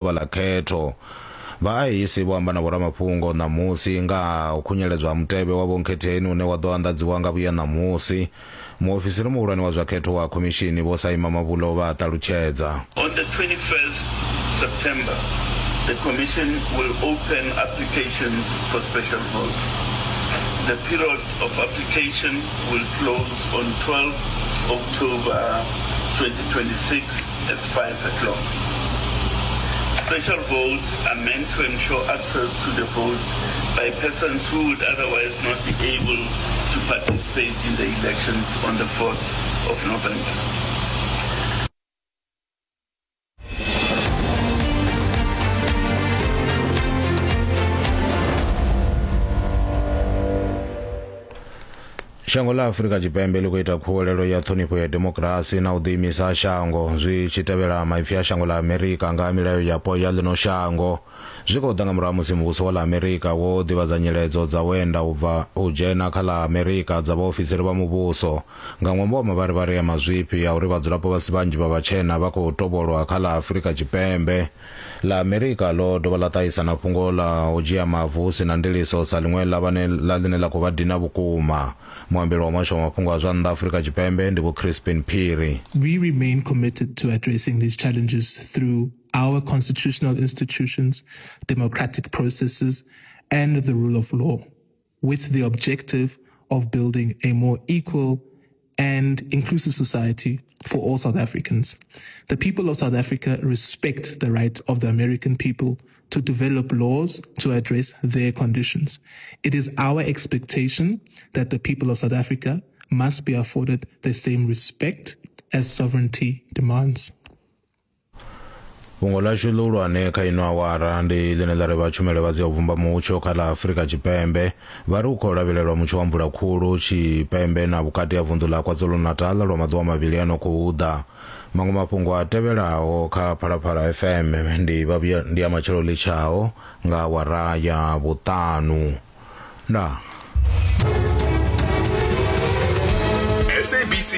Ḓuvha ḽa khetho. Vha IEC vho amba na vhoramafhungo ṋamusi nga ha u khunyeledzwa ha mutevhe wa vhonkhetheni une wa ḓo anḓadziwa nga vhuya ṋamusi. Muofisiri muhulwane wa zwa khetho wa khomishini Vho Saima Mavulo vha a ṱalutshedza. On the 21st September, the Commission will open applications for special votes. The period of application will close on 12 October 2026 at 5 o'clock. Special votes are meant to ensure access to the vote by persons who would otherwise not be able to participate in the elections on the 4th of November. Shango ḽa Afrika Tshipembe ḽi khou ita khuwelelo ya ṱhonifho ya demokirasi na u ḓiimisa ha shango zwi tshi tevhela maipfi a shango ḽa Amerika nga ha milayo yapo ya ḽino shango. Zwi khou ḓa nga murahu ha musi muvhuso wa ḽa Amerika wo ḓivhadza nyiledzo dza u enda u bva u dzhena kha ḽa Amerika dza vhaofisiri vha muvhuso nga ṅwambo wa mavharivhari a mazwifhi a uri vhadzulapo vha si vhanzhi vha vhatshena vha khou tovholwa kha ḽa Afrika Tshipembe. Ḽa Amerika ḽo dovha ḽa ṱahisa na fhungo ḽa u dzhia mavu hu si na ndiliso sa ḽiṅwe ḽa vhane ḽa ḽine ḽa khou vha dina vhukuma. Muambeli wa muhasho wa mafhungo a zwa nnḓa Afrika Tshipembe ndi Vho Crispin Phiri. We remain committed to addressing these challenges through our constitutional institutions, democratic processes, and the rule of law, with the objective of building a more equal and inclusive society for all South Africans. The people of South Africa respect the right of the American people to develop laws to address their conditions. It is our expectation that the people of South Africa must be afforded the same respect as sovereignty demands. Fhungo ḽashu ḽihulwane kha ino awara ndi ḽine ḽa ri vha tshumelo vha dzia u vhumba mutsho kha ḽa Afrika Tshipembe vha ri u khou lavhelelwa mutsho wa mvula khulu tshipembe na vhukati ha vunḓu ḽa KwaZulu-Natal lwa maḓuvha mavhili a no khou ḓa. Maṅwe mafhungo a tevhelaho kha Phalaphala FM ndi vha vhuya ndi a matshelo ḽitshaho nga awara ya vhuṱanu. Ndaa. SABC.